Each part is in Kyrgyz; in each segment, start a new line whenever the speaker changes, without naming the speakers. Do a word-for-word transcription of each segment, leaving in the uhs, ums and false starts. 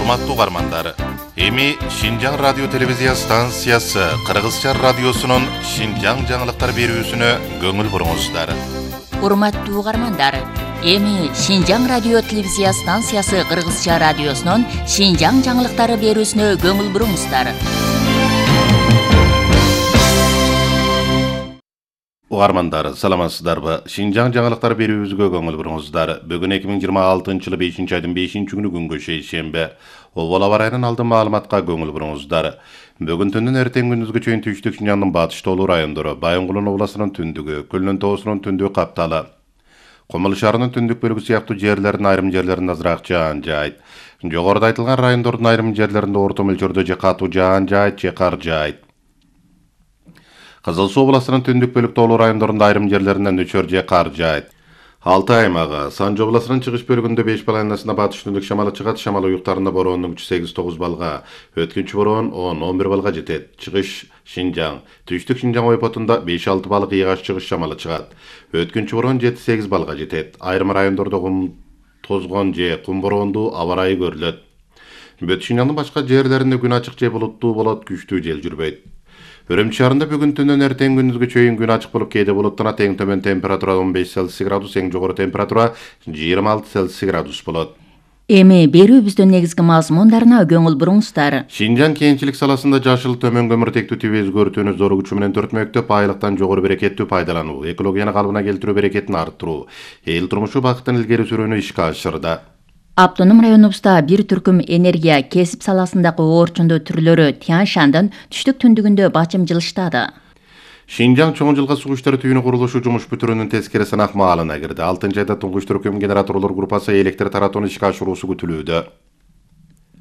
Урматтуу угармандар, эми Шинжаң радио телевизия станциясы Кыргызча радиосунун Шинжаң жаңылыктар берүүсүнө көңүл буруңуздар.
Урматтуу угармандар, эми Шинжаң радио телевизия станциясы Кыргызча радиосунун Шинжаң жаңылыктары берүүсүнө көңүл буруңуздар.
Угармандар, саламатсыздарбы? Шинжаң жаңылыктар берүүбүзгө көңүл буруңуздар. Бүгүн эки миң жыйырма алтынчы жылы бешинчи айдын бешинчи күнү күнгө шейшембе. Обол аба ырайынан алдын маалыматка көңүл буруңуздар. Бүгүн түндүн эртең күндүзгө чейин түштүк Шинжаңдын батыш тоолуу райондору, Байынгулун областынын түндүгү, Көлнөн тоосунун түндүгү капталы. Кумул шаарынын түндүк бөлүгү сыяктуу жерлердин айрым жерлеринде азыраак жаан жаайт. Жогоруда айтылган райондордун айрым жерлеринде орто мөлчөрдө же катуу жаан жаайт, же кар жаайт. Кызыл Суу областынын түндүк бөлүк тоолуу райондорунда айрым жерлеринде нөчөр же кар жаайт. Алтай аймагы Санжы областынын чыгыш бөлүгүндө беш балайнасында батыш түндүк шамалы чыгат, шамал уюктарында бороондун күчү сегиз тогуз балга, өткүнчү бороон он он бир балга жетет. Чыгыш Шинжаң, түштүк Шинжаң ойпотунда беш алты балык ыйгаш чыгыш шамалы чыгат. Өткүнчү бороон жети сегиз балга жетет. Айрым райондордо кум тозгон же кум бороондуу аба ырайы көрүлөт. Бүт Шинжаңдын башка жерлеринде күн ачык же булуттуу болот, күчтүү жел жүрбөйт. Үрүмчү шаарында бүгүн түндөн эртең күндүзгө чейин күн ачык болуп, кээде булуттанат. Эң төмөн температура он беш Цельсий градус, эң жогору температура жыйырма алты Цельсий градус болот.
Эми берүүбүздүн негизги мазмундарына көңүл буруңуздар.
Шинжаң кенчилик саласында жашыл төмөн көмүртектүү тип өзгөртүүнү зор күчү менен төртмөктөп, айлыктан жогору берекеттүү пайдалануу, экологияны калыбына келтирүү берекетин арттыруу, эл турмушу бакытын илгери сүрүүнү ишке ашырды.
Автоном районубузда бир түркүм энергия кесип саласындагы орчундуу түрлөрү Тянь-Шандын түштүк түндүгүндө бачым жылыштады.
Шинжаң чоң жылга суу иштери түйүнү курулушу жумуш бүтүрүүнүн тескери сынак маалына кирди. алтынчы айда туңгуч түркүм генераторлор группасы электр таратууну ишке ашыруусу күтүлүүдө.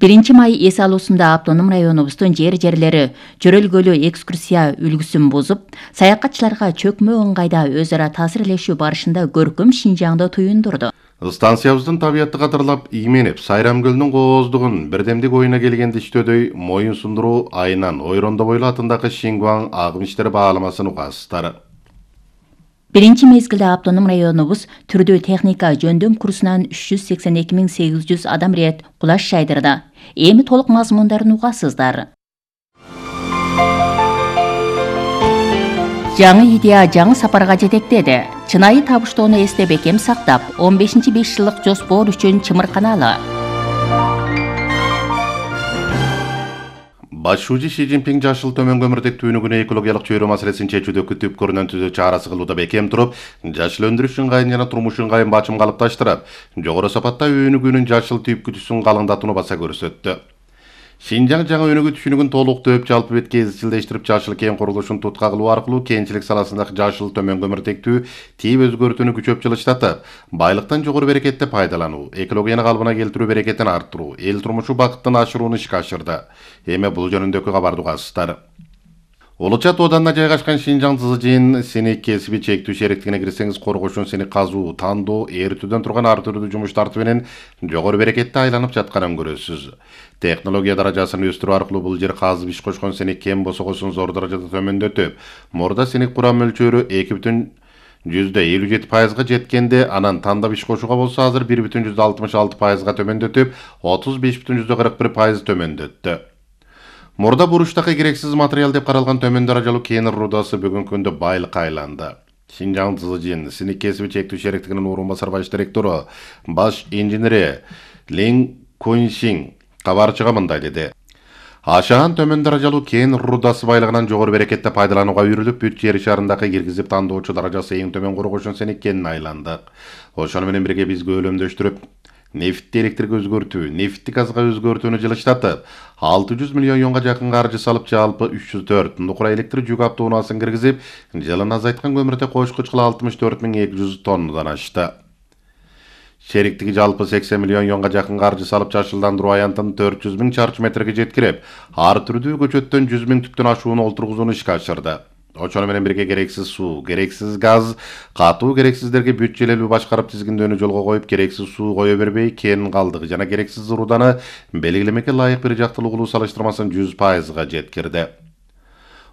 биринчи май эс алуусунда автоном районубуздун жер-жерлери жөрөлгөлүү экскурсия үлгүсүн бузуп, саякатчыларга чөкмө ыңгайда өз ара таасирлешүү барышында көркөм Шинжаңды туюндурду.
Станциябыздын табиятты кадырлап ийменип, Сайрам көлүнүн кооздугун бирдемдик ойуна келгенде иштөөдөй моюн сундуруу айынан Ойрондобойлу атындагы Шингуаң агым иштери бааламасын угасыздар.
Биринчи мезгилде автоном районубуз түрдүү техника жөндөм курсунан үч жүз сексен эки миң сегиз жүз адам рет кулаш жайдырды. Эми толук мазмундарын угасыздар. Жаңы идея жаңы сапарга жетектеди. Чынайы табыштоону эсте бекем сактап, он бешинчи беш жылдык жоспор үчүн чымырканалы.
Баш шүүжү Ши Цзиньпин жашыл төмөн көмүртектүүнү күнү экологиялык чөйрө маселесин чечүүдө күтүп көрүнөн түзүү чарасы кылууда бекем туруп, жашыл өндүрүш ыңгайын жана турмуш ыңгайын бачым калыпташтырып, жогору сапатта өнүгүүнүн жашыл түйүп күтүүсүн калыңдатууну баса көрсөттү. Шинжаң жаңы өнүгүү түшүнүгүн толуктуу өп жалпы бетке изчилдештирип, жашыл кен курулушун тутка кылуу аркылуу кенчилик саласындагы жашыл төмөн көмүртектүү тип өзгөртүүнү күчөп жылыштатып, байлыктан жогору берекетте пайдалануу, экологияны калыбына келтирүү берекетин арттыруу, эл турмушу бакытын ашырууну ишке ашырды. Эми бул жөнүндөгү кабарды угасыздар. Улуча тооданына жайгашкан Шинжаң Цзыжин синик кесиби чектүү шериктигине кирсеңиз, коргошун синик казуу, тандоо, эритүүдөн турган ар түрдүү жумуш тартып менен жогору берекетте айланып жатканын көрөсүз. Технология даражасын өстүрүү аркылуу бул жер казып иш кошкон синик кен босогосун зор даражада төмөндөтүп, мурда синик курам мөлчөрү эки бүтүн жүздө элүү жети пайызга жеткенде, анан тандап иш кошууга болсо азыр бир бүтүн жүздө алтымыш алты пайызга төмөндөтүп, отуз беш бүтүн жүздө кырк бир пайыз төмөндөттү. Мурда буруштакы керексиз материал деп каралган төмөн даражалуу кен рудасы бүгүнкү күндө байлыкка айланды. Шинжаң Цзыжин синик кесиби чектүү шериктигинин орун басар баш директору, баш инженери Лин Куньшин кабарчыга мындай деди. Ашаан төмөн даражалуу кен рудасы байлыгынан жогору берекетте пайдаланууга үйрүлүп, бүт жер шарындагы киргизип тандоочу даражасы эң төмөн коргошон синик кенин айландык. Ошону менен бирге биз көлөмдөштүрүп, нефтти электрге өзгөртүү, нефтти газга өзгөртүүнү жылыштатып, алты жүз миллион юанга жакын каржы салып, жалпы үч жүз төрт нукура электр жүк автоунаасын киргизип, жылын азайткан көмүртек кошкуч кыла алтымыш төрт миң эки жүз тоннадан ашты. Шериктиги жалпы сексен миллион юанга жакын каржы салып, жашылдандыруу аянтын төрт жүз миң чарчы метрге жеткирип, ар түрдүү көчөттөн жүз миң түптөн ашууну олтургузууну ишке ашырды. Ошону менен бирге керексиз суу, керексиз газ, катуу керексиздерге бүт желелүү башкарып тизгиндөөнү жолго коюп, керексиз суу кое бербей, кен калдыгы жана керексиз руданы белгилемекке ылайык бир жактылуу кылуу салыштырмасын жүз пайызга жеткирди.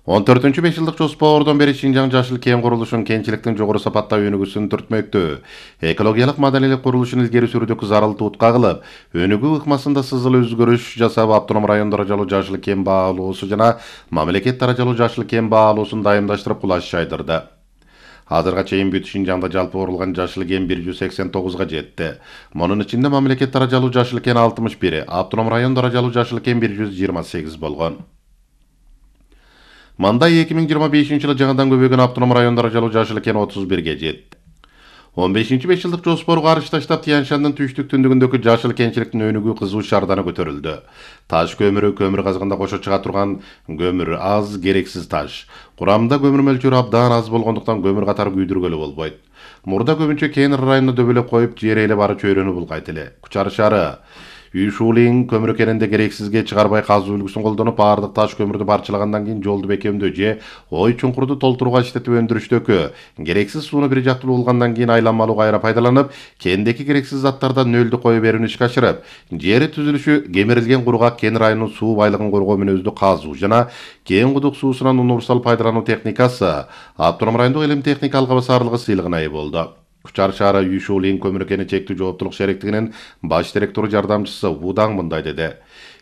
он төртүнчү беш жылдык жоспордон бери Шинжаң жашыл кент курулушун кентчиликтин жогору сапаттуу өнүгүүсүн түртмөктө. Экологиялык маданиялык курулушун илгери сүрүүдөгү зарыл туутка кылып, өнүгүү ыкмасында сызыл өзгөрүш жасап, автоном район даражалуу жашыл кент баалоосу жана мамлекет даражалуу жашыл кент баалоосун дайымдаштырып кулаш жайдырды. Азырга чейин бүт Шинжаңда жалпы курулган жашыл кент бир жүз сексен тогузга жетти. Мунун ичинде мамлекет даражалуу жашыл кент алтымыш бир, автоном район даражалуу жашыл кент бир жүз жыйырма сегиз болгон. Манда эки миң жыйырма бешинчи жылы жаңадан көбөйгөн автоном район даражалуу жашыл кент отуз бирге жетти. он бешинчи беш жылдык жоспорго каршы таштап, Тянь-Шандын түштүк түндүгүндөгү жашыл кентчиликтин өнүгүү кызуу шаардана көтөрүлдү. Таш көмүрү, көмүр казыгында кошо чыга турган көмүр аз, керексиз таш. Курамында көмүр мөлчөрү абдан аз болгондуктан көмүр катары күйдүргөлү болбойт. Мурда көбүнчө кен районуна дөбөлөп коюп, жер ээлеп ары чөйрөнү булгайт эле. Кучар шаары Үйшүүлүн көмүр кенинде керексизге чыгарбай казуу үлгүсүн колдонуп, баардык таш көмүрдү барчылагандан кийин жолду бекемдөө же ой чуңкурду толтурууга иштетип өндүрүштөкү, керексиз сууну бир жактуу булгандан кийин айланмалуу кайра пайдаланып, кендеки керексиз заттардан нөлдү кое берүүнү ишке ашырып, жери түзүлүшү кемирилген кургак кен районунун суу байлыгын коргоо мүнөздүү казуу жана кен кудук суусунан универсал пайдалануу техникасы автоном райондук илим техника алга басарлыгы сыйлыгына ээ болду. Кучар шаары Үйшүүлүн көмүр кени чектүү жооптулук шериктигинин баш директору жардамчысы Вудаң мындай деди.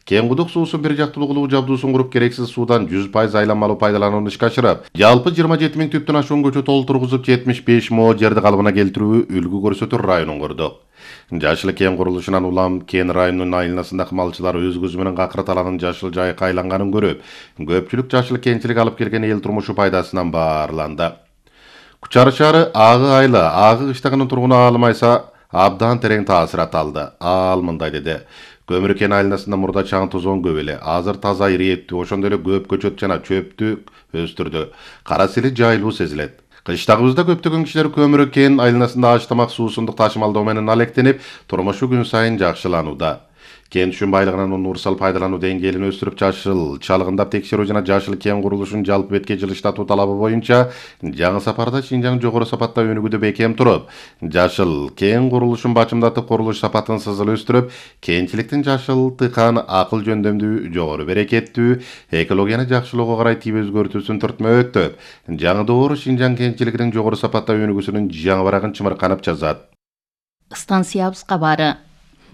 Кен кудук суусун бир жактуу кылуу жабдуусун куруп, керексиз суудан жүз пайыз айланмалуу пайдаланууну ишке ашырып, жалпы жыйырма жети миң түптөн ашуун көчө толтургузуп, жетимиш беш мо жерди калыбына келтирүү үлгү көрсөтөр районун курдук. Жашыл кен курулушунан улам кен районунун айылнасындагы малчылар өз көзү менен Какырат аланын жашыл жайыкка айланганын көрүп, көпчүлүк жашыл кентчилик алып келген эл турмушу пайдасынан баарланды. Кучар шаары Агы айылы, Агы кыштагынын тургуну Алымайса абдан терең таасират алды. Ал мындай деди. Көмүр кен айылнасында мурда чаң тозон көп эле. Азыр таза ирээттүү, ошондой эле көп көчөт жана чөптү өстүрдү. Кара сели жайлуу сезилет. Кыштагыбызда көптөгөн кишилер көмүр кен айылнасында аш тамак суусундук ташымалдоо менен алектенип, турмушу күн сайын жакшыланууда. Кен түшүн байлыгынын универсал пайдалануу деңгээлин өстүрүп, жашыл чалгындап текшерүү жана жашыл кен курулушунун жалпы бетке жылыштатуу талабы боюнча жаңы сапарда Шинжаң жогору сапаттуу өнүгүүдө бекем туруп, жашыл кен курулушун бачымдатып, курулуш сапатын сызыл өстүрүп, кентчиликтин жашыл тыкан, акыл жөндөмдүү, жогору берекеттүү, экологияны жакшылоого карай тийип өзгөртүүсүн түртмөктөп, жаңы доор Шинжаң кентчилигинин жогору сапаттуу өнүгүүсүнүн жаңы барагын чымырканып жазат.
Станциябыз кабары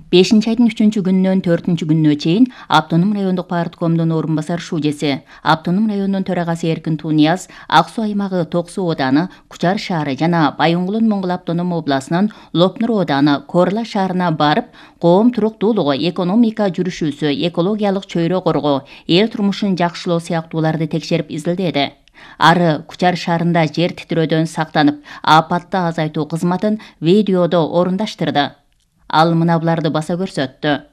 бешинчи айдын үчүнчү күнүнөн төртүнчү күнүнө чейин автоном райондук парткомдун орун басар шужеси, автоном районунун төрагасы Эркин Тунияз, Ак Суу аймагы Ток Суу ооданы, Кучар шаары жана Байоңгулун Моңгул автоном областынын Лопнур ооданы Корла шаарына барып, коом туруктуулугу, экономика жүрүшүүсү, экологиялык чөйрө коргоо, эл турмушун жакшылоо сыяктууларды текшерип изилдеди. Ары Кучар шаарында жер титирөөдөн сактанып, апатты азайтуу кызматын видеодо орундаштырды. Ал мына буларды баса көрсөттү.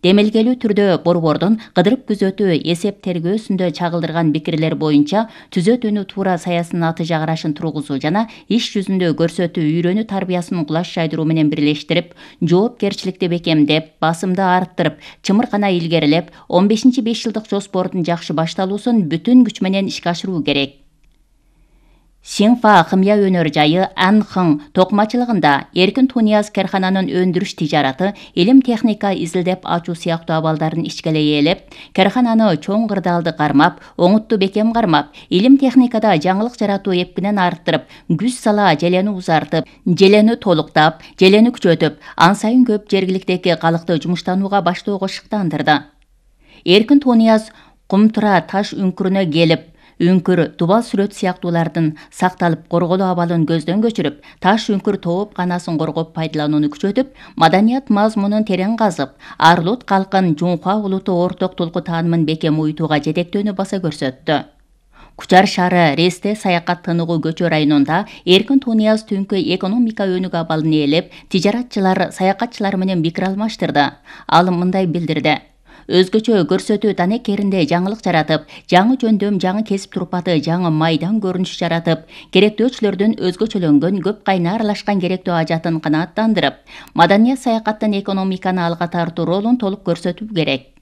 Демелгелүү түрдө борбордун кыдырып күзөтүү эсеп тергөөсүндө чагылдырган пикирлер боюнча түзөтүүнү туура саясынын аты жагырашын тургузуу жана иш жүзүндө көрсөтүү үйрөнүү тарбиясын кулаш жайдыруу менен бирлештирип, жоопкерчиликти бекемдеп, басымды арттырып, чымыркана илгерилеп, он бешинчи беш жылдык жоспордун жакшы башталуусун бүтүн күч менен ишке ашыруу керек. Синфа хымя өнөр жайы Анхың токмачылыгында Эркин Тунияз кархананын өндүрүш тижараты, илим техника изилдеп ачуу сыяктуу абалдарын ичкелей ээлеп, кархананы чоң кырдаалды кармап, оңутту бекем кармап, илим техникада жаңылык жаратуу эпкинен арттырып, күч сала желени узартып, желени толуктап, желени күчөтүп, ан сайын көп жергиликтеги калыкты жумуштанууга баштоого шыктандырды. Эркин Тунияз кумтура таш үңкүрүнө келип, үңкүр, тубал сүрөт сыяктуулардын сакталып корголуу абалын көздөн көчүрүп, таш үңкүр тооп канасын коргоп пайдаланууну күчөтүп, маданият мазмунун терең казып, Арлут калкын Жунхуа улуту орток толку таанымын бекем уютууга жетектөөнү баса көрсөттү. Кучар шаары Ресте саякат тыныгуу көчө районунда Эркин Тунияз түнкү экономика өнүгүү абалын ээлеп, тижаратчылар, саякатчылар менен пикир алмаштырды. Ал мындай билдирди. Өзгөчө көрсөтүү танекеринде жаңылык жаратып, жаңы жөндөм, жаңы кесип турпаты, жаңы майдан көрүнүш жаратып, керектөөчүлөрдүн өзгөчөлөнгөн көп кайна аралашкан керектөө ажатын канааттандырып, маданият саякаттын экономиканы алга тартуу ролун толук көрсөтүү керек.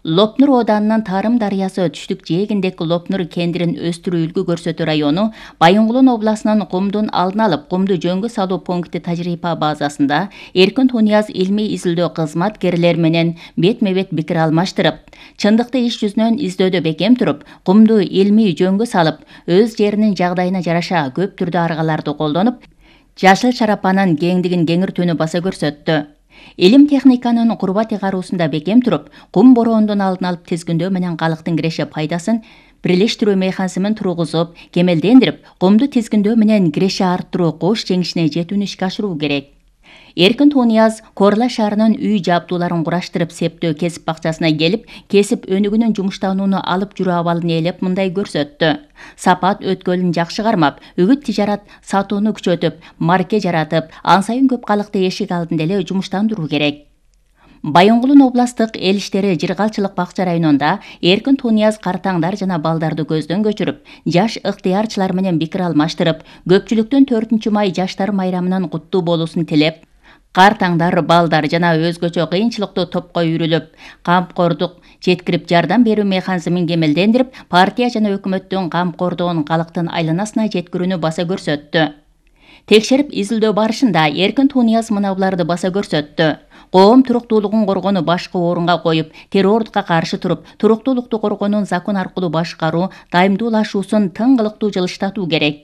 Лопнур ооданынын Тарым дарыясы түштүк жээгиндеки Лопнур кендирин өстүрүү үлгү көрсөтүү району Байонгулун областынын Кумдун алдын алып кумду жөнгө салуу пункти тажрыйба базасында Эркин Тунияз илмий изилдөө кызматкерлери менен бетме-бет пикир алмаштырып, чындыкты иш жүзүнөн издөөдө бекем туруп, кумду илмий жөнгө салып, өз жеринин жагдайына жараша көп түрдүү аргаларды колдонуп, жашыл шарапанын кеңдигин кеңиртүүнү баса көрсөттү. Илим техниканын курбат ыйгаруусунда бекем туруп, кум бороондун алдын алып тизгиндөө менен калктын киреше пайдасын бирлештирүү механизмин тургузуп, кемелдендирип, кумду тизгиндөө менен киреше арттыруу кош жеңишине жетүүнү ишке ашыруу керек. Эркин Тунияз Корла шаарынын үй жабдууларын кураштырып септөө кесип бакчасына келип, кесип өнүгүүнүн жумуштанууну алып жүрүү абалын ээлеп мындай көрсөттү. Сапат өткөлүн жакшы кармап, үгүт тижарат сатууну күчөтүп, марке жаратып, ан сайын көп калыкты эшик алдында эле жумуштандыруу керек. Байонгулун областтык эл иштери жыргалчылык бакча районунда Эркин Тунияз картаңдар жана балдарды көздөн көчүрүп, жаш ыктыярчылар менен пикир алмаштырып, көпчүлүктүн төртүнчү май жаштар майрамынын куттуу болуусун тилеп, картаңдар, балдар жана өзгөчө кыйынчылыктуу топко үйрүлүп, камкордук жеткирип жардам берүү механизмин кемелдендирип, партия жана өкмөттүн камкордугун калктын айланасына жеткирүүнү баса көрсөттү. Текшерип изилдөө барышында Эркин Тунияз мына буларды баса көрсөттү. Коом туруктуулугун коргонуу башкы орунга коюп, террордукка каршы туруп, туруктуулукту коргоонун закон аркылуу башкаруу, дайымдуулашуусун тың кылыктуу жылыштатуу керек.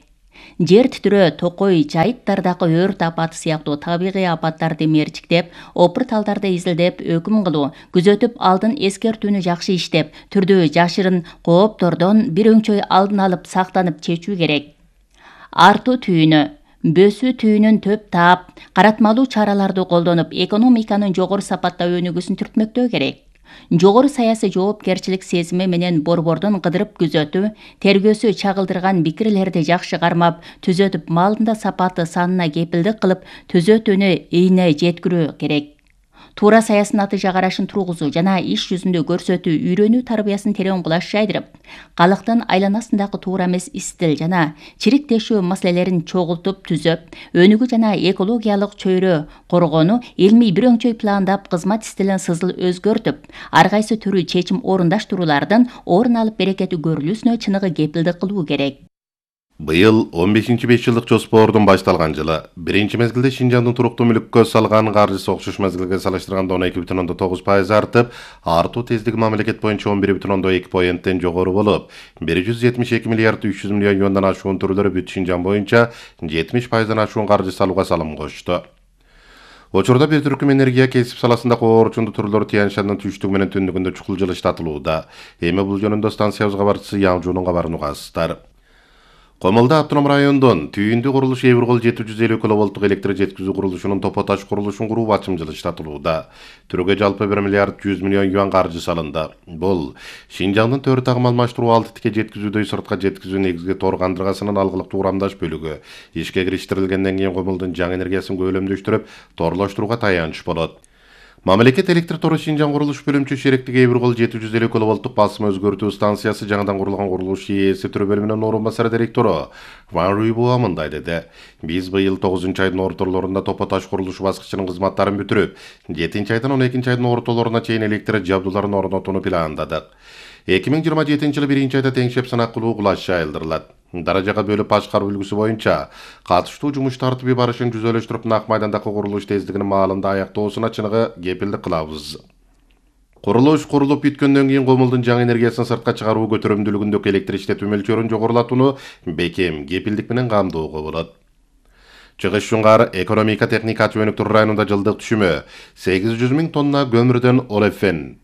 Жер титирөө, токой, жайыттардагы өрт апаты сыяктуу табигый апаттарды мерчиктеп, опур талдарды изилдеп, өкүм кылуу, күзөтүп, алдын эскертүүнү жакшы иштеп, түрдүү жашырын кооптордон бир өңчөй алдын алып, сактанып чечүү керек. Артуу түйүнү Бөсүү түйүнүн төп таап, каратмалуу чараларды колдонуп, экономиканын жогору сапатта өнүгүүсүн түртмөктөө керек. Жогору саясий жоопкерчилик сезими менен борбордун кыдырып күзөтүү, тергөөсү чагылдырган пикирлерди жакшы кармап, түзөтүп, малында сапаты санына кепилдик кылып, түзөтүүнү ийне жеткирүү керек. Туура саясий натыйжа карашын тургузуу жана иш жүзүндө көрсөтүү, үйрөнүү тарбиясын терең кулаш жайдырып, калктын айланасындагы туура эмес истил жана чириктешүү маселелерин чогултуп түзөп, өнүгүү жана экологиялык чөйрө коргонуу, илмий бир өңчөй пландап, кызмат стилин сызыл өзгөртүп, ар кайсы түрүү чечим орундаштыруулардын орун алып берекети көрүлүүсүнө чыныгы кепилдик кылуу керек.
Быйыл он бешинчи беш жылдык жоспордун башталган жылы биринчи мезгилде Шинжаңдын туруктуу мүлүккө салган каржысы окшош мезгилге салыштырганда он эки бүтүн ондон тогуз пайыз артып, артуу тездиги мамлекет боюнча он бир бүтүн ондон эки поенттен жогору болуп, бир жүз жетимиш эки миллиард үч жүз миллион юандан ашуун түрлөрү бүт Шинжаң боюнча жетимиш пайыздан ашуун каржы салууга салым кошту. Учурда бир түркүм энергия кесип саласында коорчунду түрлөрү Тянь-Шаньдын түштүгү менен түндүгүндө чукул жылыштатылууда. Эми бул жөнүндө станциябызга барчысы Яңжуунун кабарын угасыздар. Комолдо автоном райондон түйүндү курулуш Эвргол жети жүз элүү киловолттук электр жеткизүү курулушунун топо таш курулушун куруу бачым жылыштатылууда. Түргө жалпы бир миллиард жүз миллион юан каржы салынды. Бул Шинжаңдын төрт агым алмаштыруу алты тике жеткизүүдө сыртка жеткизүү негизги тор кандыргасынын алгылык туурамдаш бөлүгү ишке кириштирилгенден кийин Комолдун жаңы энергиясын көлөмдөштүрүп, торлоштурууга таянч болот. Мамлекет электр тору Шинжаң курулуш бөлүмчү шериктиги Эвргол жети жүз элүү киловолттук басым өзгөртүү станциясы жаңыдан курулган курулуш ИЭСи түрүү бөлүмүнүн орун басары директору Ван Руйбуа мындай деди. Биз быйыл тогузунчу айдын ортолорунда топо таш курулушу баскычынын кызматтарын бүтүрүп, жетинчи айдан он экинчи айдын ортолоруна чейин электр жабдууларын орнотууну пландадык. эки миң жыйырма жетинчи жылы биринчи айда теңшеп сынак кылуу кулаш жайылдырылат. Даражага бөлүп башкаруу үлгүсү боюнча катыштуу жумуш тартиби барышын жүзөлөштүрүп, нак майдандагы курулуш тездигинин маалында аяктоосуна чыныгы кепилдик кылабыз. Курулуш курулуп бүткөндөн кийин Комолдун жаңы энергиясын сыртка чыгаруу көтөрүмдүүлүгүндөгү электр иштетүү мөлчөрүн жогорулатууну бекем кепилдик менен камдоого болот. Чыгыш Шуңгар экономика техникачы өнүктүрүү районунда жылдык түшүмө сегиз жүз миң тонна көмүрдөн олефен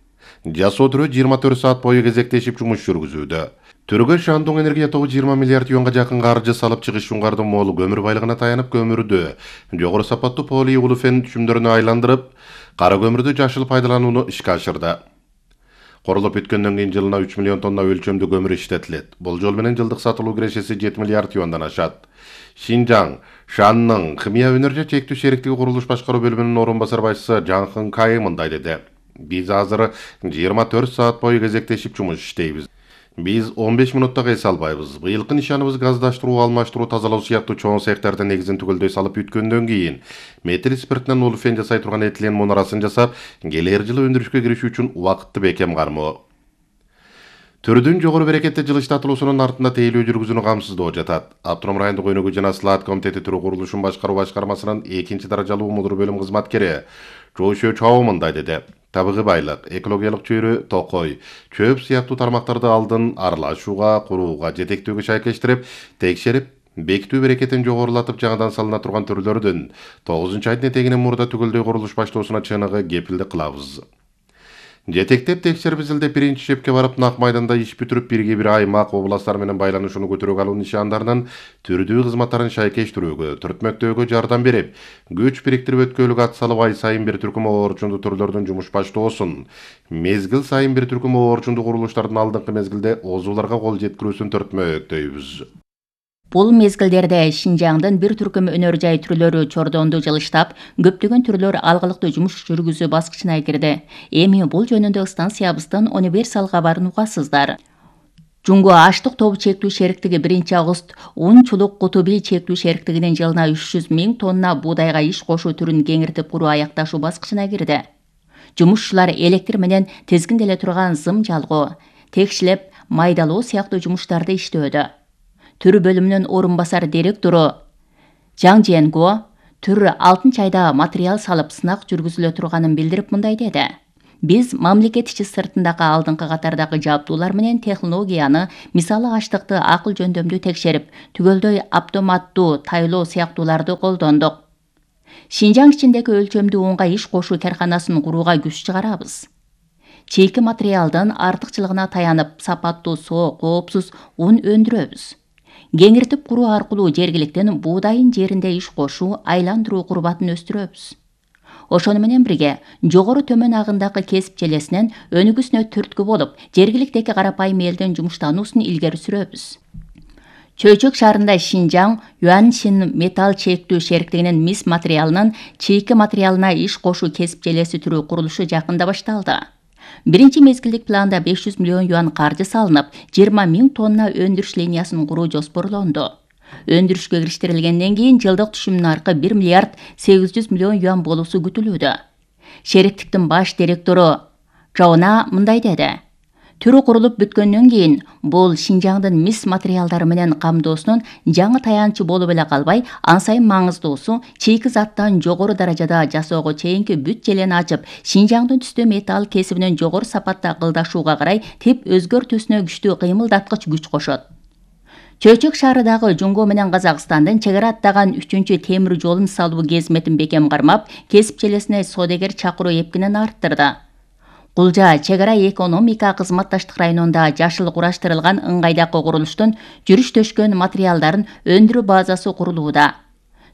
жасоо түрү жыйырма төрт саат бою кезектешип жумуш жүргүзүүдө. Түргө Шандон энергия тобу жыйырма миллиард юанга жакын каржы салып, Чыгыш Шуңгардын мол көмүр байлыгына таянып, көмүрдү жогору сапаттуу полиулефен түшүмдөрүнө айландырып, кара көмүрдү жашыл пайдаланууну ишке ашырды. Курулуп бүткөндөн кийин жылына үч миллион тонна өлчөмдүү көмүр иштетилет. Бул жол менен жылдык сатылуу кирешеси жети миллиард юандан ашат. Шинжаң Шанның химия өнөр чектүү шериктиги курулуш башкаруу бөлүмүнүн орун басар башчысы Жаңхын Кайы мындай деди. Биз азыр жыйырма төрт саат бою кезектешип жумуш иштейбиз. Биз он беш мүнөттө эс албайбыз. Быйылкы нишаныбыз газдаштыруу, алмаштыруу, тазалоо сыяктуу чоң цехтерде негизин түгөлдөй салып бүткөндөн кийин метил спиртинен улуфен жасай турган этилен мунарасын жасап, келер жылы өндүрүшкө киришүү үчүн убакытты бекем кармоо. Түрдүн жогору берекетте жылыштатылуусунун артында тейлөө жүргүзүүнү камсыздоо жатат. Автоном райондук өнүгүү жана слаат комитети түрү курулушун башкаруу башкармасынын экинчи даражалуу мудур бөлүм кызматкери Жоошо Чоо мындай деди. Табыгы байлык, экологиялык чөйрө, токой, чөп сыяктуу тармактарды алдын аралашууга, курууга, жетектөөгө шайкештирип, текшерип, бекитүү берекетин жогорулатып жаңадан салына турган түрлөрдүн тогузунчу айдын этегинен мурда түгөлдөй курулуш баштоосуна чыныгы кепилдик кылабыз. Жетектеп текшерип изилдеп биринчи шепке барып нак майданда иш бүтүрүп бирге бир аймак, областтар менен байланышууну көтөрүүгө алуу нишандарынын түрдүү кызматтарын шайкештирүүгө, түртмөктөөгө жардам берип, күч бириктирип өткөөлүк ат салып ай сайын бир түркүм оорчунду түрлөрдүн жумуш баштоосун, мезгил сайын бир түркүм оорчунду курулуштардын алдыңкы мезгилде оозууларга кол жеткирүүсүн түртмөктөйбүз.
Бул мезгилдерде Шинжаңдын бир түркүм өнөр жай түрлөрү чордонду жылыштап, көптөгөн түрлөр алгылыктуу жумуш жүргүзүү баскычына кирди. Эми бул жөнүндө станциябыздын универсал кабарын угасыздар. Жунго аштык тобу чектүү шериктиги биринчи август ун чулук кутуби чектүү шериктигинин жылына үч жүз миң тонна буудайга иш кошуу түрүн кеңиртип куруу аякташуу баскычына кирди. Жумушчулар электр менен тизгинделе турган зым жалгоо, текшилеп, майдалоо сыяктуу жумуштарды иштөөдө. Түрү бөлүмүнүн орун басар директору Жаң Женго түр алтынчы айда материал салып сынак жүргүзүлө турганын билдирип мындай деди. Биз мамлекет ичи сыртындагы алдыңкы катардагы жабдуулар менен технологияны, мисалы аштыкты акыл жөндөмдүү текшерип, түгөлдөй автоматтуу тайлоо сыяктууларды колдондук. Шинжаң ичиндеги өлчөмдүү унга иш кошуу карканасын курууга күч чыгарабыз. Чийки материалдын артыкчылыгына таянып, сапаттуу, соо, коопсуз ун өндүрөбүз. Кеңиртип куруу аркылуу жергиликтен буудайын жеринде иш кошуу, айландыруу курбатын өстүрөбүз. Ошону менен бирге жогору төмөн агындагы кесип желесинен өнүгүүсүнө түрткү болуп, жергиликтеги карапайым элдин жумуштануусун илгери сүрөбүз. Чөйчөк шаарында Шинжаң Юаньшин металл чектүү шериктигинин мис материалынын чийки материалына иш кошуу кесип желеси түрүү курулушу жакында башталды. Биринчи мезгилдик планда беш жүз миллион юан каржы салынып, жыйырма миң тонна өндүрүш линиясын куруу жоспорлонду. Өндүрүшкө кириштирилгенден кийин жылдык түшүм наркы бир миллиард сегиз жүз миллион юан болуусу күтүлүүдө. Шериктиктин баш директору Жаона мындай деди. Түрү курулуп бүткөндөн кийин бул Шинжаңдын мис материалдары менен камдоосунун жаңы таянчы болуп эле калбай, ан сайын маңыздуусу чийки заттан жогору даражада жасоого чейинки бүт желени ачып, Шинжаңдын түстө металл кесибинин жогору сапатта кылдашууга карай теп өзгөртүүсүнө күчтүү кыймылдаткыч күч кошот. Чөйчөк шаарындагы Жунго менен Казакстандын чек ара аттаган үчүнчү темир жолун салуу кезметин бекем кармап, кесип желесине содегер чакыруу эпкинин арттырды. Кулжа чек ара экономика кызматташтык районунда жашыл кураштырылган ыңгайдагы курулуштун жүрүш төшкөн материалдарын өндүрүү базасы курулууда.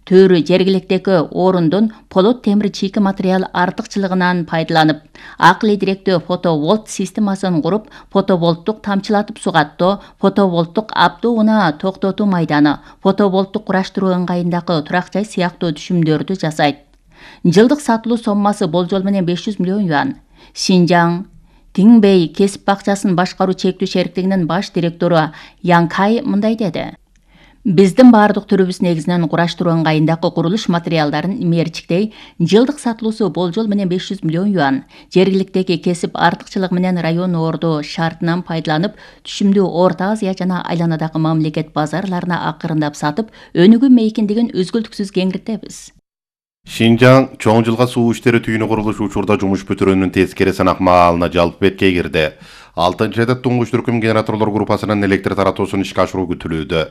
Төрү жергиликтеги орундун полот темир чийки материал артыкчылыгынан пайдаланып, акылы директөө фотоволт системасын куруп, фотоволттук тамчылатып сугаттоо, фотоволттук аптуу унаа токтотуу майданы, фотоволттук кураштыруу ыңгайындагы турак жай сыяктуу түшүмдөрдү жасайт. Жылдык сатылуу соммасы болжол менен беш жүз миллион юан. Шинжаң Тиңбей кесип бакчасын башкаруу чектүү шериктигинин баш директору Янкай мындай деди. Биздин баардык түрүбүз негизинен кураштыруу ыңгайындагы курулуш материалдарын мерчиктей, жылдык сатылуусу болжол менен беш жүз миллион юан. Жергиликтеги кесип артыкчылыгы менен район орду шартынан пайдаланып, түшүмдүү Орто Азия жана айланадагы мамлекет базарларына акырындап сатып, өнүгүү мейкиндигин үзгүлтүксүз кеңиртебиз.
Шинжаң чоң жылга суу иштери түйүнү курулуш учурда жумуш бүтүрүүнүн тескери сынак маалына жалпы бетке кирди. алтынчы айда туңгуч түркүм генераторлор группасынын электр таратуусун ишке ашыруу күтүлүүдө.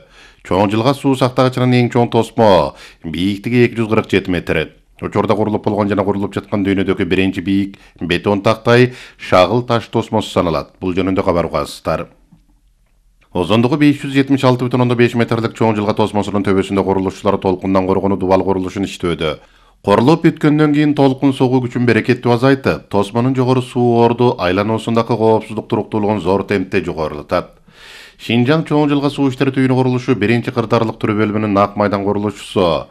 Чоң жылга суу сактагычынын эң чоң тосмо бийиктиги эки жүз кырк жети метр. Учурда курулуп болгон жана курулуп жаткан дүйнөдөгү биринчи бийик бетон тактай шагыл таш тосмосу саналат. Бул жөнүндө кабар угасыздар. Озондугу беш жүз жетимиш алты бүтүн ондон беш метрлик чоң жылга тосмосунун төбөсүндө курулушчулар толкундан коргонуу дубал курулушун иштөөдө. Корулуп бүткөндөн кийин толкун согуу күчүн берекеттүү азайтып, тосмонун жогору суу орду айлануусундагы коопсуздук туруктуулугун зор темпте жогорулатат. Шинжаң чоң жылга суу иштери түйүнү курулушу биринчи кырдаарлык түрү бөлүмүнүн нак майдан курулушчусу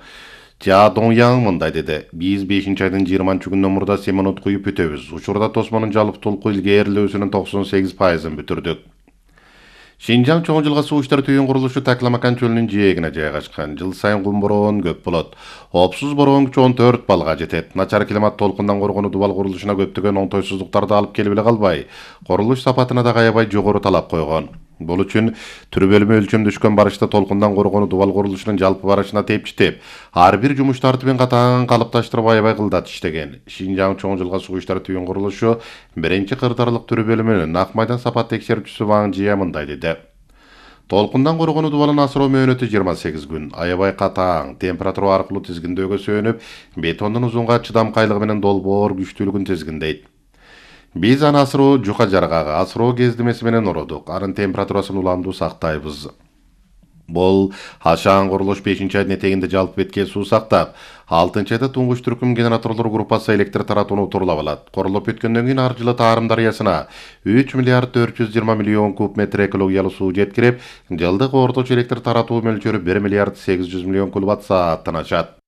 Жа Доңяң мындай деди. Биз бешинчи айдын жыйырманчы күнүнөн мурда семинут куюп бүтөбүз. Учурда тосмонун жалпы толку илгээрилөөсүнүн токсон сегиз пайызын бүтүрдүк. Шинжаң чоң жылга суу иштери түйүн курулушу Такламакан чөлүнүн жээгине жайгашкан. Жыл сайын кум бороон көп болот. Опсуз бороон күчү он төрт балга жетет. Начар климат толкундан коргонуу дубал курулушуна көптөгөн оңтойсуздуктарды алып келип эле калбай, курулуш сапатына да аябай жогору талап койгон. Бул үчүн түрү бөлүмү өлчөмдөшкөн барышта толкундан коргонуу дубал курулушунун жалпы барышына тепчитип, ар бир жумуш тартыбын катаан калыпташтырып аябай кылдат иштеген. Шинжаң чоң жылга суу иштери түйүн курулушу биринчи кырдаарлык түрү бөлүмүнүн Ак майдан сапат текшерүүчүсү Ваң Жия мындай деди. Толкундан коргонуу дубалын асыроо мөөнөтү жыйырма сегиз күн. Аябай катаң температура аркылуу тизгиндөөгө сөөнүп, бетондун узунга чыдамкайлыгы менен долбоор күчтүүлүгүн тизгиндейт. Биз аны асыроо жука жаргага, асыроо кездемеси менен урудук. Анын температурасын уламдуу сактайбыз. Бул ашаан курулуш бешинчи айдын этегинде жалпы бетке суу сактап, алтынчы айда туңгуч түркүм генераторлор группасы электр таратууну турулап алат. Курулуп бүткөндөн кийин ар жылы Таарым дарыясына үч миллиард төрт жүз жыйырма миллион куб метр экологиялуу суу жеткирип, жылдык орточо электр таратуу мөлчөрү бир миллиард сегиз жүз миллион киловатт сааттан ашат.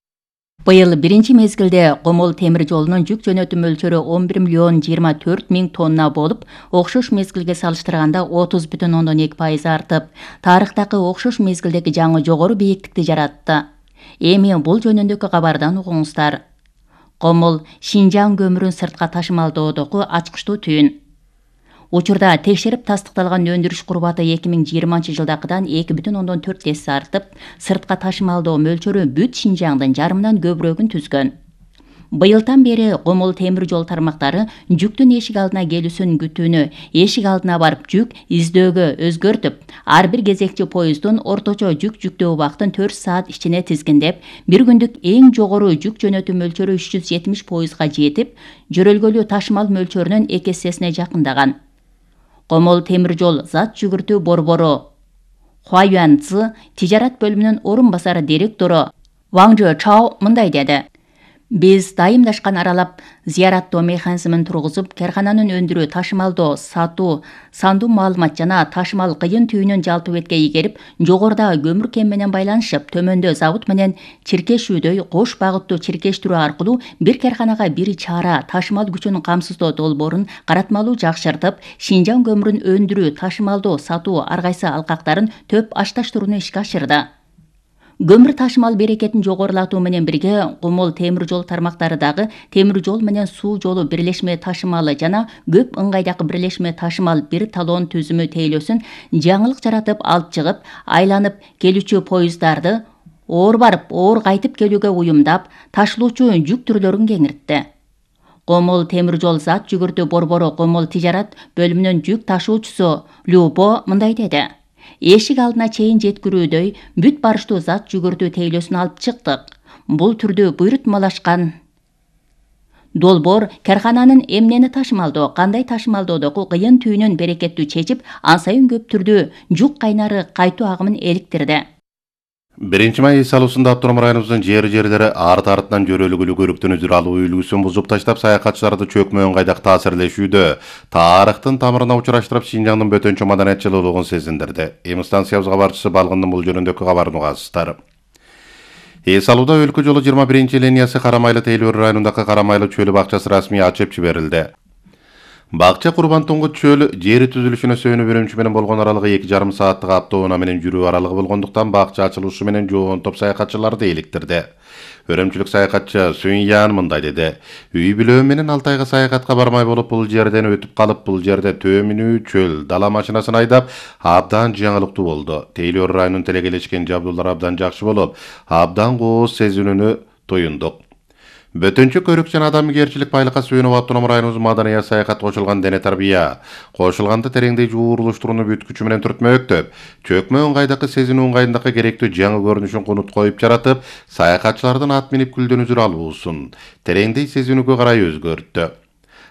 Быйыл биринчи мезгилде Комол темир жолунун жүк жөнөтүү мөлчөрү он бир миллион жыйырма төрт миң тонна болуп, окшош мезгилге салыштырганда отуз бүтүн ондон эки пайыз артып, тарыхтагы окшош мезгилдеги жаңы жогору бийиктикти жаратты. Эми бул жөнүндөгү кабардан угуңуздар. Комол Шинжаң көмүрүн сыртка ташымалдоодогу ачкычтуу түйүн. Учурда текшерип тастыкталган өндүрүш курбаты эки миң жыйырманчы жылдакыдан эки бүтүн ондон төрт эсе артып, сыртка ташымалдоо мөлчөрү бүт Шинжаңдын жарымынан көбүрөгүн түзгөн. Быйылдан бери Комол темир жол тармактары жүктүн эшик алдына келүүсүн күтүүнү эшик алдына барып жүк издөөгө өзгөртүп, ар бир кезекчи поезддун орточо жүк жүктөө убактын төрт саат ичине тизгиндеп, бир күндүк эң жогору жүк жөнөтүү мөлчөрү үч жүз жетимиш поездга жетип, жөрөлгөлүү ташымал мөлчөрүнүн эки эсесине жакындаган. Комол темир жол зат жүгүртүү борбору Хуаюан Цзы тижарат бөлүмүнүн орун басары директору Ваң Чао мындай деди. Биз дайымдашкан аралап зыяраттоо механизмин тургузуп, кархананын өндүрүү, ташымалдоо, сатуу, сандуу маалымат жана ташымал кыйын түйүнүн жалпы бетке ийгерип, жогоруда көмүр кем менен байланышып, төмөндө завод менен чиркешүүдөй кош багыттуу чиркештирүү аркылуу бир карханага бир чара ташымал күчүн камсыздоо долбоорун каратмалуу жакшыртып, Шинжаң көмүрүн өндүрүү, ташымалдоо, сатуу ар кайсы алкактарын төп ашташтырууну ишке ашырды. Көмүр ташымал берекетин жогорулатуу менен бирге Комол темир жол тармактары дагы темир жол менен суу жолу бирлешме ташымалы жана көп ыңгайдагы бирлешме ташымал бир талон түзүмү тейлөөсүн жаңылык жаратып алып чыгып, айланып келүүчү поезддарды оор барып, оор кайтып келүүгө уюмдап, ташылуучу жүк түрлөрүн кеңиртти. Комол темир жол зат жүгүртүү борбору Комол тижарат бөлүмүнүн жүк ташуучусу Любо мындай деди. Эшик алдына чейин жеткирүүдөй бүт барыштуу зат жүгүртүү тейлөөсүн алып чыктык. Бул түрдүү буйрутмалашкан долбоор кархананын эмнени ташымалдоо, кандай ташымалдоодогу кыйын түйүнүн берекеттүү чечип, ан сайын көп түрдүү жүк кайнары кайтуу агымын эликтирди.
Биринчи май эс алуусунда автоном районубуздун жери-жерлери арты-артынан жөрөлгүлүү көрүктөн үзүр алуу үлгүсүн бузуп таштап, саякатчыларды чөкмө ыңгайдак таасирлешүүдө, тарыхтын тамырына учураштырып, Шинжаңдын бөтөнчө маданиятчылуулугун сезиндирди. Эми станциябыз кабарчысы Балгындын бул жөнүндөгү кабарын угасыздар. Эс алууда өлкө жолу жыйырма биринчи линиясы Карамайлы Тейлөр районундагы Карамайлы чөлү бакчасы расмий ачып жиберилди. Бакча Курбан Туңгут чөл жери түзүлүшүнө сөөнүп үрүмчү менен болгон аралыгы эки жарым сааттык автоунаа менен жүрүү аралыгы болгондуктан бакча ачылышы менен жоон топ саякатчыларды иликтирди. Өрөмчүлүк саякатчы Сүйян мындай деди. Үй бүлө менен алты айга саякатка бармай болуп, бул жерден өтүп калып, бул жерде төмүнүү чөл дала машинасын айдап, абдан жаңылыктуу болду. Тейлөр районунун телегелешкен жабдуулары абдан жакшы болуп, абдан кооз сезүүнү тоюндук. Бөтөнчө көрүк жана адамгерчилик байлыкка сүйөнүп автоном районубуздун маданият саякат кошулган дене тарбия, кошулганда тереңдей жууруштурууну бүт күчү менен түртмөктөп, чөкмө ыңгайдакы сезинүү ыңгайындакы керектүү жаңы көрүнүшүн кунут коюп жаратып, саякатчылардын ат минип күлдөн үзүр алуусун тереңдей сезинүүгө карай өзгөрттү.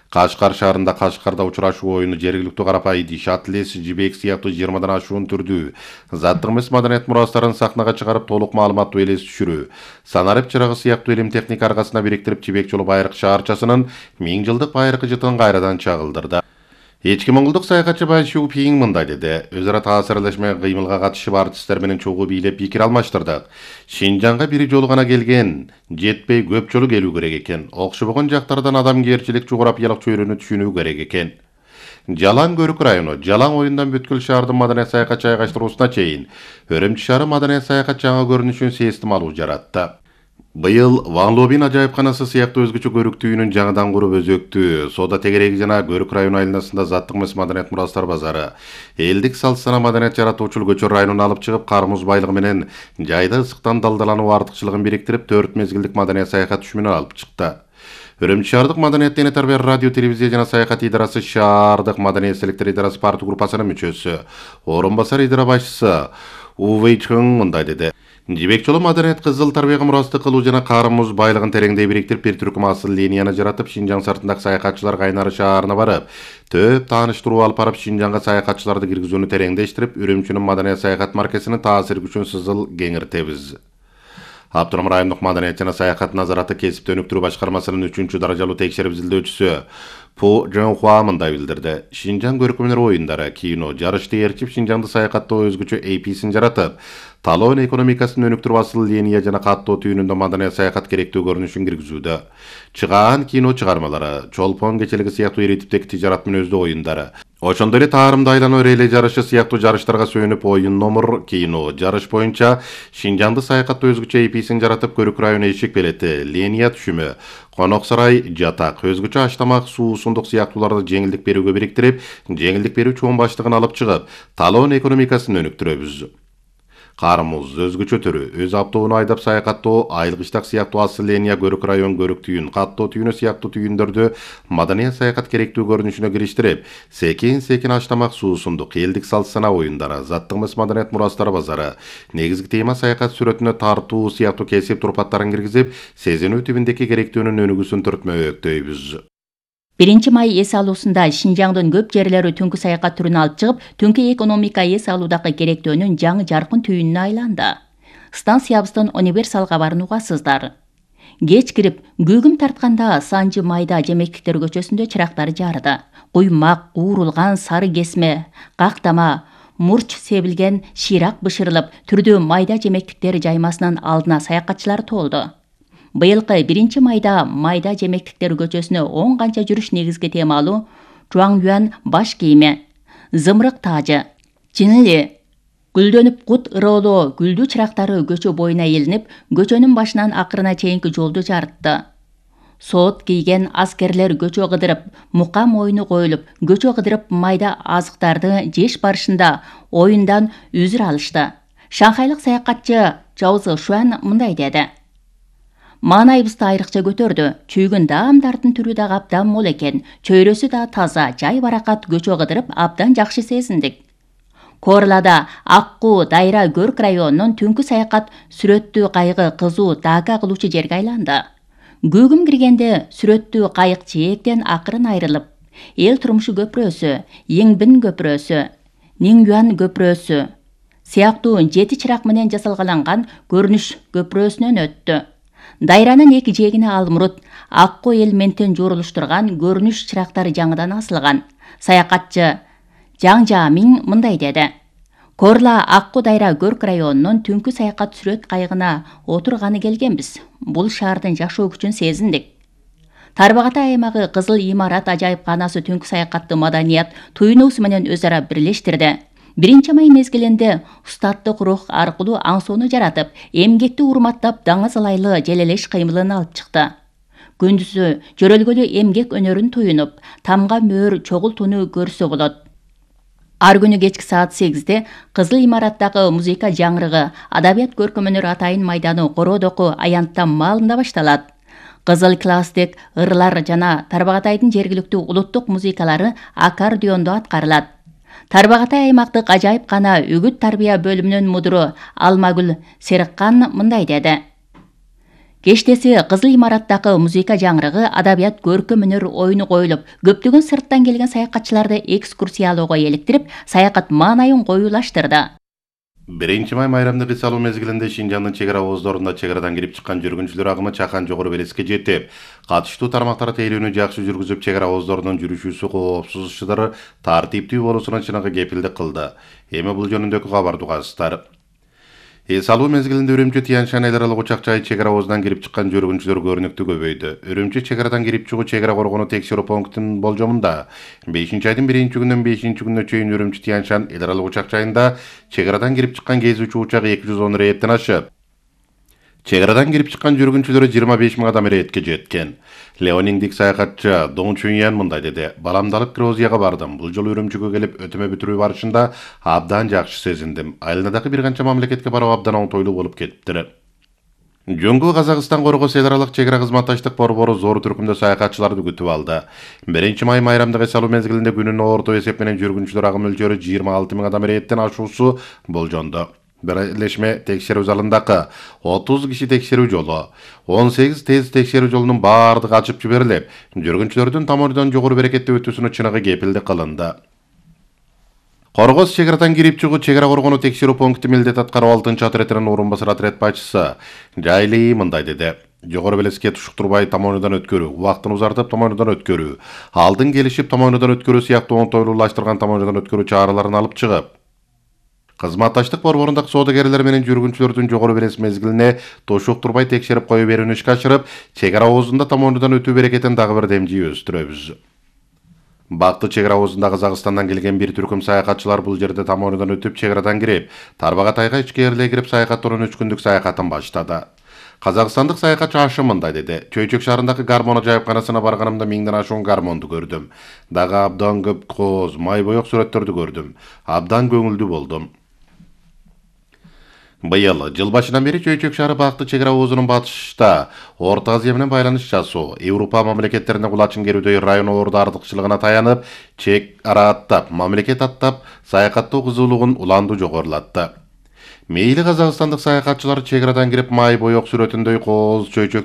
Кашкар шаарында Кашкарда учурашуу оюну жергиликтүү карапайым шатлес жибек сыяктуу жыйырмадан ашуун түрдүү заттык эмес маданият мурастарын сахнага чыгарып, толук маалыматтуу элес түшүрүү, санарип чырагы сыяктуу илим техника аркасына бириктирип, Жибек жолу байыркы шаарчасынын миң жылдык байыркы жытын кайрадан чагылдырды. Эчки моңголдук саякатчы Бай Шу Пиң мындай деди. Өз ара таасирлешме кыймылга катышып, артисттер менен чогуу бийлеп пикир алмаштырдык. Шинжаңга бири жолу гана келген, жетпей көп жолу келүү керек экен. Окшобогон жактардан адамгерчилик, жогорапиялык чөйрөнү түшүнүү керек экен. Жалаң Көрүк району Жалаң оюндан бүткүл шаардын маданият саякат жайгаштыруусуна чейин Өрөмчү шаары маданият саякат жаңы көрүнүшүн сээстималуу жаратты. Быйыл Ван Лобин ажайыпканасы сыяктуу өзгөчө көрүктүү үйүнүн жаңыдан куруп өзөктүү соода тегереги жана Көрүк району айланасында заттык эмес маданият мурастар базары, элдик салт-сана маданият жаратуучу Көчөр районуна алып чыгып, кар муз байлыгы менен жайда ысыктан далдалануу артыкчылыгын бириктирип, төрт мезгилдик маданият саякат түшүмүнө алып чыкты. Өрөмчү шаардык маданият дене тарбия радио телевизия жана саякат идарасы шаардык маданият селектор идарасы партия группасынын мүчөсү, орун басар идара башчысы Увей Чың мындай деди. Жибек жолу маданият кызыл тарбияга мурастык кылуу жана кар муз байлыгын тереңдей бириктирип, бир түркүм асыл линияны жаратып, Шинжаң сыртындагы саякатчылар Кайнары шаарына барып, төп тааныштыруу алып барып, Шинжаңга саякатчыларды киргизүүнү тереңдештирип, Үрүмчүнүн маданият саякат маркесинин таасир күчүн сызыл кеңиртебиз. Автоном райондук маданият жана саякат назараты кесипти өнүктүрүү башкармасынын үчүнчү даражалуу текшерип изилдөөчүсү Пу Жонхуа мындай билдирди. Шинжаң көркөм өнөр оюндары, кино, жарышты ээрчип, Шинжаңды саякаттоо өзгөчө эй пи син жаратып, талоон экономикасын өнүктүрүп, асыл линия жана каттоо түйүнүндө маданият саякат керектүү көрүнүшүн киргизүүдө. Чыгаан кино чыгармалары, Чолпон кечелиги сыяктуу ири типтеги тижарат мүнөздүү оюндары, ошондой эле таарымды айлануу реле жарышы сыяктуу жарыштарга сүйүнүп, оюн номер, кино, жарыш боюнча Шинжаңды саякаттоо өзгөчө эй пи син жаратып, Көрүк району эшик белети, линия түшүмү, конок сарай, жатак, өзгөчө аштамак, суу, сундук сыяктууларды жеңилдик берүүгө бириктирип, жеңилдик берүү чоң баштыгын алып чыгып, талоон экономикасын өнүктүрөбүз. Кар муз өзгөчө түрү, өз автоуну айдап саякаттоо, айылгычтак сыяктуу асыл линия, Көрүк район көрүк түйүн, каттоо түйүнү сыяктуу түйүндөрдү маданият саякат керектүү көрүнүшүнө кириштирип, секин-секин аштамак, суу, сундук, элдик салт-сана оюндары, заттык эмес маданият мурастар базары, негизги тема саякат сүрөтүнө тартуу сыяктуу кесип турпаттарын киргизип, сезинүү түбүндөгү керектүүнүн өнүгүүсүн түртмөктөйбүз.
биринчи май эс алуусунда Шинжаңдын көп жерлери түнкү саякат түрүнө алып чыгып, түнкү экономика эс алуудагы керектөөнүн жаңы жаркын түйүнүнө айланды. Станциябыздын универсалга барынугасыздар. Кеч кирип, күүгүм тартканда Санжы майда Жемектиктер көчөсүндө чырактар жарды. Куймак, куурулган сары кесме, кактама, мурч себилген ширак бышырылып, түрдүү майда жемектиктер жаймасынын алдына саякатчылар толду. Быйылкы биринчи майда майда жемектиктер көчөсүнө он канча жүрүш негизги темалуу Чуаңюан баш кийими, зымырык таажы, Чинили, гүлдөнүп кут ыроолоо гүлдүү чырактары көчө боюна илинип, көчөнүн башынан акырына чейинки жолду жарытты. Соот кийген аскерлер көчө кыдырып, мукам оюну коюлуп, көчө кыдырып майда азыктарды жеш барышында оюндан үзүр алышты. Шанхайлык саякатчы Жаузы Шуан мындай деди. Маанайыбызды айрыкча көтөрдү. Чүйгүн даамдардын түрү да абдан мол экен. Чөйрөсү да таза, жай баракат көчө кыдырып, абдан жакшы сезиндик. Корлада Акку Дайра Көрк районунун түнкү саякат сүрөттүү кайыгы кызуу даага кылуучу жерге айланды. Күүгүм киргенде сүрөттүү кайык жээктен акырын айрылып, эл турмушу көпүрөсү, Еңбин көпүрөсү, Ниңюан көпүрөсү сыяктуу жети чырак менен жасалгаланган көрүнүш көпүрөсүнөн өттү. Дайранын эки жээгине алмурут, Акку элементин жорулуштурган көрүнүш чырактары жаңыдан асылган. Саякатчы Жаң Жамиң мындай деди. Корла Акку Дайра Көрк районунун түнкү саякат сүрөт кайыгына отурганы келгенбиз. Бул шаардын жашоо күчүн сезиндик. Тарбагатай аймагы Кызыл имарат ажайыпканасы түнкү саякатты маданият туюнуусу менен өз ара бирлештирди. Биринчи май мезгилинде устаттык рух аркылуу аңсоону жаратып, эмгекти урматтап, даңыз ылайлы желелеш кыймылын алып чыкты. Күндүзү жөрөлгөлүү эмгек өнөрүн туюнуп, тамга мөөр чогултууну көрсө болот. Ар күнү кечки саат сегизде Кызыл имараттагы музыка жаңырыгы Адабият көркөм өнөр атайын майданы Кородоку аянттан маалында башталат. Кызыл класстык ырлар жана Тарбагатайдын жергиликтүү улуттук музыкалары аккордеондо аткарылат. Тарбагатай аймактык ажайыпкана үгүт тарбия бөлүмүнүн мудуру Алмагүл Сериккан мындай деди. Кештеси Кызыл имараттагы музыка жаңырыгы Адабият көркөм өнөр оюну коюлуп, көптөгөн сырттан келген саякатчыларды экскурсиялоого эликтирип, саякат маанайын коюлаштырды.
биринчи май майрамдык эс алуу мезгилинде Шинжаңдын чек ара ооздорунда чек арадан кирип чыккан жүргүнчүлөр агымы Чакан жогору белеске жетип, катыштуу тармактар тейлөөнү жакшы жүргүзүп, чек ара ооздорунун жүрүшүүсү коопсуз ишдары тартиптүү болуусуна чыныгы кепилдик кылды. Эми бул жөнүндөгү кабарды угасыздар. Эс алуу мезгилинде Үрүмчү Тянь-Шань эл аралык учак жайы чек ара обозунан кирип чыккан жүргүнчүлөр көрүнүктүү көбөйдү. Үрүмчү чек арадан кирип чыгуу чек ара коргонуу текшерүү пунктунун болжомунда бешинчи айдын биринчи күнүнөн бешинчи күнүнө чейин Үрүмчү Тянь-Шань эл аралык учак жайында чек арадан кирип чыккан кезүүчү учак эки жүз он рейдтен ашып, чек арадан кирип чыккан жүргүнчүлөрү жыйырма беш миң адам рейдке жеткен. Леонингдик саякатчы Дong Чуньян мындай деди: "Баламды алып Грузияга бардым. Бул жолу Үрүмчүгө келип өтөмө бүтүрүү барышында абдан жакшы сезиндим. Айылына дагы бир канча мамлекетке баруу абдан оңтойлуу болуп кетиптир." Жөнгө Казакстан коргоос эл аралык чек ара кызматташтык борбору зор түркүмдө саякатчыларды күтүп алды. биринчи май майрамдык эс алуу мезгилинде күнүнө орто эсеп менен жүргүнчүлөр агым мөлчөрү жыйырма алты миң адам рейдтен ашуусу болжонду. Бирлешме текшерүү залындагы отуз киши текшерүү жолу, он сегиз тез текшерүү жолунун баардыгы ачып жиберилип, жүргүнчүлөрдүн тамырдан жогору берекеттүү өтүүсүнө чыныгы кепилдик кылынды. Коргоос чек арадан кирип чыгуу чек ара коргонуу текшерүү пункту милдет аткаруу алтынчы отрядынын орун басары отряд башчысы Жайли мындай деди: "Жогору белеске тушуктурбай тамоонудан өткөрүү, убактын узартып тамоонудан өткөрүү, алдын келишип тамоонудан өткөрүү сыяктуу оңтойлуулаштырган тамоонудан өткөрүү чараларын алып чыгып, кызматташтык борборундагы соодагерлер менен жүргүнчүлөрдүн жогору белес мезгилине тушуктурбай текшерип кое берүүнү ишке ашырып, чек ара обозунда тамоонудан өтүү берекетин дагы бир демжий өстүрөбүз." Бакты чек ара обозунда Казакстандан келген бир түркүм саякатчылар бул жерде тамоонудан өтүп, чек арадан кирип, Тарбагатайга ичкерилей кирип саякаттоонун үч күндүк саякатын баштады. Казакстандык саякатчы Ашым мындай деди: "Чөйчөк шаарындагы гармон ажайыпканасына барганымда миңден ашуун гармонду көрдүм. Дагы абдан көп кооз, май боек сүрөттөрдү көрдүм. Абдан көңүлдүү болдум." Быйыл жыл башынан бери Чөйчөк шаары Бакты чек ара обозунун батышта Орто Азия менен байланыш жасоо, Европа мамлекеттерине кулачын керүүдө райондордун артыкчылыгына таянып, чек ара аттап, мамлекет аттап саякаттоо кызуулугун уланду жогорулатты. Мейли казакстандык саякатчылар чек арадан кирип май боек сүрөтүндөй кооз, чөйчөк